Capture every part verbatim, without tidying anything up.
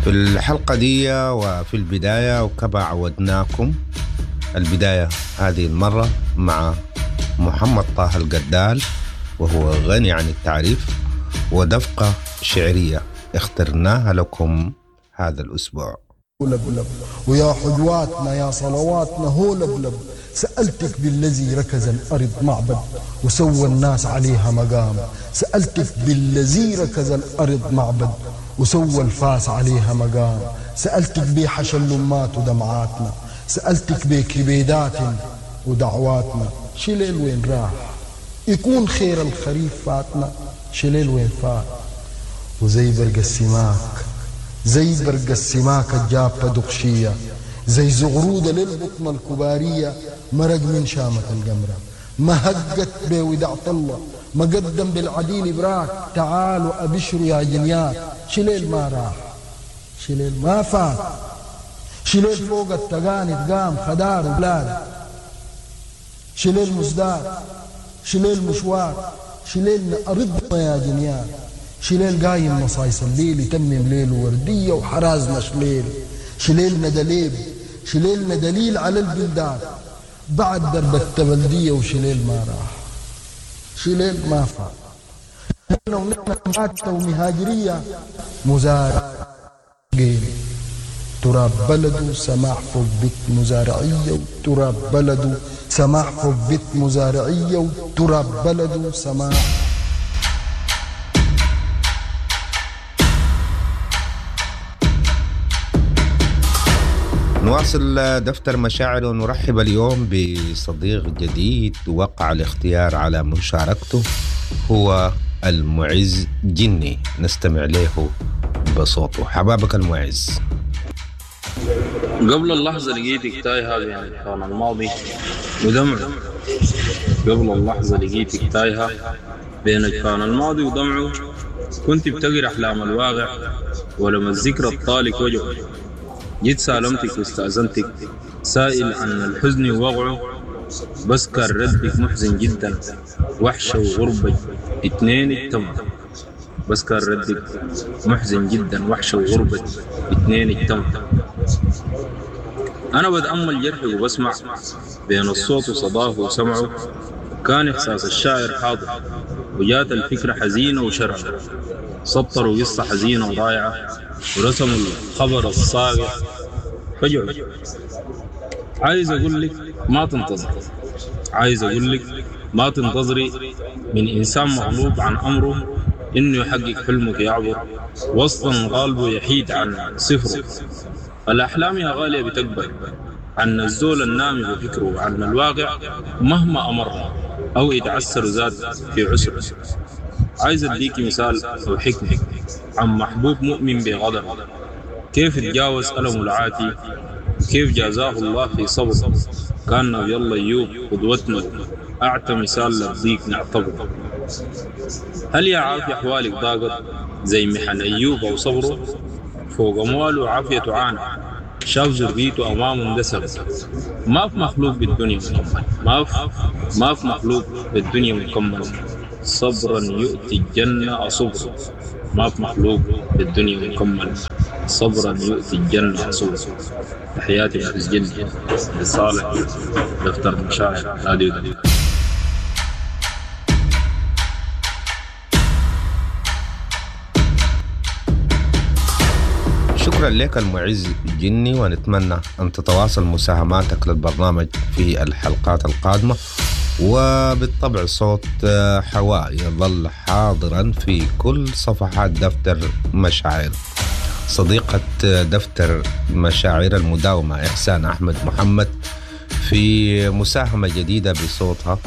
في الحلقة دي وفي البداية وكما عودناكم البداية هذه المرة مع محمد طه القدال، وهو غني عن التعريف، ودفقة شعرية اخترناها لكم هذا الأسبوع. لبلب ويا حجواتنا يا صلواتنا هو لبلب، سألتك بالذي ركز الأرض معبد وسوى الناس عليها مقام، سألتك بالذي ركز الأرض معبد وسوى الفاس عليها مقام، سألتك بحشا اللمات ودمعاتنا، سألتك بكبيدات ودعواتنا، شليل وين راح يكون خير الخريف فاتنا، شليل وين فات وزي برق السماك، زي برق السماك الجابة دغشية، زي زغرودة للبطن الكبارية مرق من شامة القمرة، ما هقت بودعة الله، ما قدم بالعديل براك، تعالوا أبشروا يا جنيات، شليل ما راح شليل ما فات، شليل فوق التقاني قام خدار وبلاد، شليل مزدار شليل مشوار، شليل أرضنا يا جنيات، شليل قايم مصايص الليل يتمم ليل وردية وحرازنا شليل، شليلنا دليل شليلنا دليل على البلدان بعد درب التبلدية، وشليل ما راح شليل ما فات، ونحن ومهاجرية مزارع تراب بلده سماح فوق بيت مزارعية، وتراب بلده سماح فوق بيت مزارعية، وتراب بلده سماح. نواصل دفتر مشاعر ونرحب اليوم بصديق جديد وقع الاختيار على مشاركته، هو المعز جني. نستمع له بصوته. حبابك المعز. قبل اللحظة لقيتك تايهة بين أجفان الماضي ودمعه، قبل اللحظة لقيتك تايهة بين أجفان الماضي ودمعه، كنت بتقرأ أحلام الواقع ولما الذكرى الطالق وجعه، جيت سالمتك واستأذنتك سائل عن الحزن ووقعه، بس كان ردك محزن جدا وحشة وغربة اتنين اجتمعوا، بس كان ردك محزن جدا وحشة وغربة اتنين اجتمعوا. أنا بتأمل جرحي وبسمع بين الصوت وصداه وسمعه، كان إحساس الشاعر حاضر وجات الفكرة حزينة وشرعة، سطروا قصة حزينة ورائعة ورسموا الخبر الصاغر فجعوا. عايز أقول لك ما تنتظر، عايز أقول لك ما تنتظري من إنسان مغلوب عن أمره إنه يحقق حلمك يعبر وسطا غالبه يحيد عن صفره. الأحلام يا غالية بتكبر عن الزول النامي بفكره عن الواقع مهما أمر أو يتعسر ذات في عسره. عايز أديك مثال أو حكمة عن محبوب مؤمن بغدر، كيف تجاوز ألمه العاتي وكيف جازاه الله في صبر. كان نبي الله أيوب قدوتنا أعتى مثال للضيق نعتبره. هل يا عافية أحوالك ضاقت زي محن أيوب أو صبره؟ فوق أمواله عافية عانى شاف ذريته أمامه اندثر. ما في مخلوق بالدنيا مكمل، ما في ما في مخلوق بالدنيا مكمل، صبرا يؤتي الجنة أصبر. ما في مخلوق بالدنيا مكمل، صبرا يؤتي الجنة أصبر. تحياتي معز جني لصالح دفتر مشاعر راديو دفتر. شكرا لك المعز جني، ونتمنى أن تتواصل مساهماتك للبرنامج في الحلقات القادمة. وبالطبع صوت حواء يظل حاضرا في كل صفحات دفتر مشاعر. صديقة دفتر مشاعر المداومة إحسان أحمد محمد في مساهمة جديدة بصوتها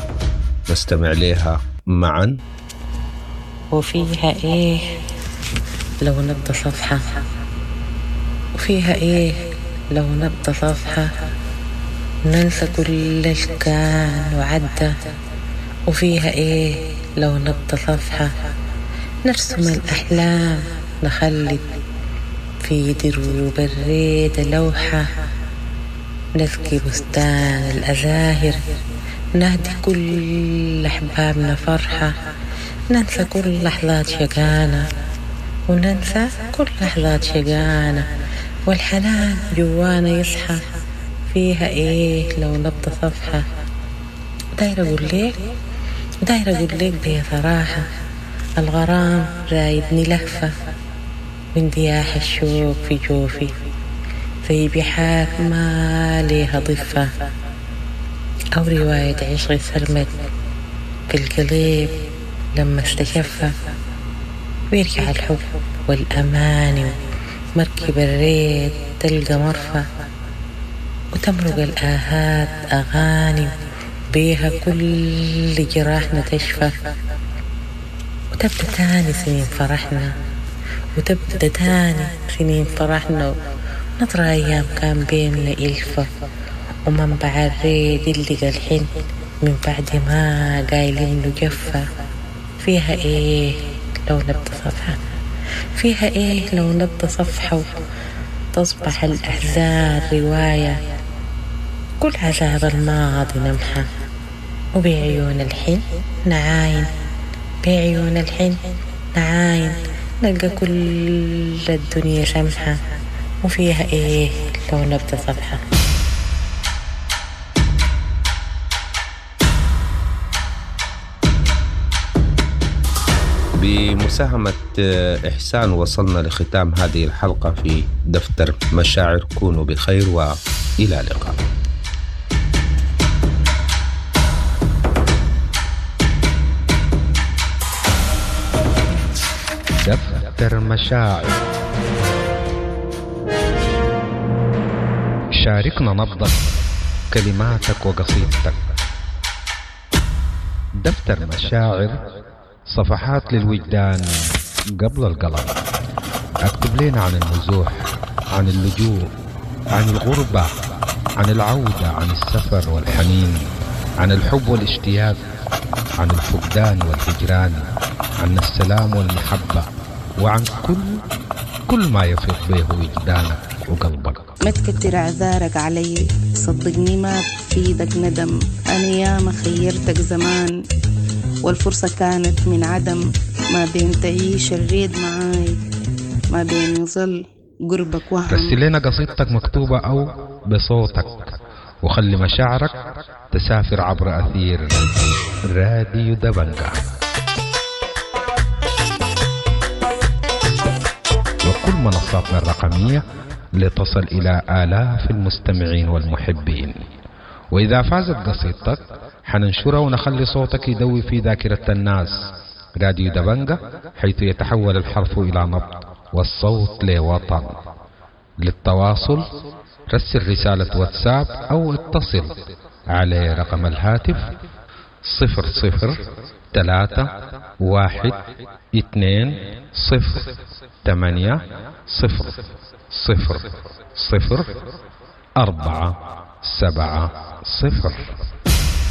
نستمع لها معا. وفيها إيه لو نبدأ صفحة، وفيها إيه لو نبدأ صفحة، ننسى كل اللي كان وعدى. وفيها إيه لو نبدأ صفحة، نرسم الأحلام نخلد في دروب الريدة لوحة، نسقي بستان الأزاهر نهدي كل أحبابنا فرحة، ننسى كل لحظات شقانا وننسى كل لحظات شقانا والحنان جوانا يصحى. فيها إيه لو نبدأ صفحة؟ داير أقول لك داير أقول لك بصراحة، الغرام رايدني لهفة واندياح الشوق في جوفي زي بحار ما ليها ضفة، أو رواية عشق سرمد في القليب لما استشفى، ويرجع الحب والأماني مركب الريد تلقى مرفى، وتمرق الآهات أغاني بيها كل جراحنا تشفى، وتبدأ تاني سنين فرحنا وتبدأ تاني سنين فرحنا نطرى أيام كان بيننا إلفة، ومنبع الريد اللي الحين من بعد ما قايلين له جفة. فيها إيه لو نبدأ صفحة؟ فيها إيه لو نبدأ صفحة تصبح الأحزان رواية، كل عذاب الماضي نمحى، وبعيون الحين نعاين بعيون الحين نعاين نلقى كل الدنيا سمحة. وفيها إيه لو نبدأ صفحة؟ بمساهمة إحسان وصلنا لختام هذه الحلقة في دفتر مشاعر. كونوا بخير وإلى اللقاء. دفتر مشاعر، شاركنا نبضك، كلماتك وقصيدتك. دفتر مشاعر، صفحات للوجدان قبل القلم. اكتب لنا عن النزوح، عن اللجوء، عن الغربة، عن العودة، عن السفر والحنين، عن الحب والاشتياق، عن الفقدان والهجران، عن السلام والمحبة، وعن كل كل ما يفيض به وجدانك وقلبك. ما تكتر اعذارك علي، صدقني ما بفيدك ندم. انا ياما خيرتك زمان والفرصة كانت من عدم. ما بين تعيش الريد معاي، ما بين يظل قربك وهم. رسل لنا قصيدتك مكتوبة أو بصوتك، وخلي مشاعرك تسافر عبر أثير راديو دبنجا وكل منصاتنا الرقمية لتصل إلى آلاف المستمعين والمحبين. وإذا فازت قصيدتك حننشرها ونخلي صوتك يدوي في ذاكرة الناس. راديو دبنجا، حيث يتحول الحرف إلى نبض والصوت لوطن. للتواصل رسل رسالة واتساب أو اتصل على رقم الهاتف صفر صفر ثلاثة واحد اثنين صفر ثمانية صفر صفر صفر أربعة سبعة صفر.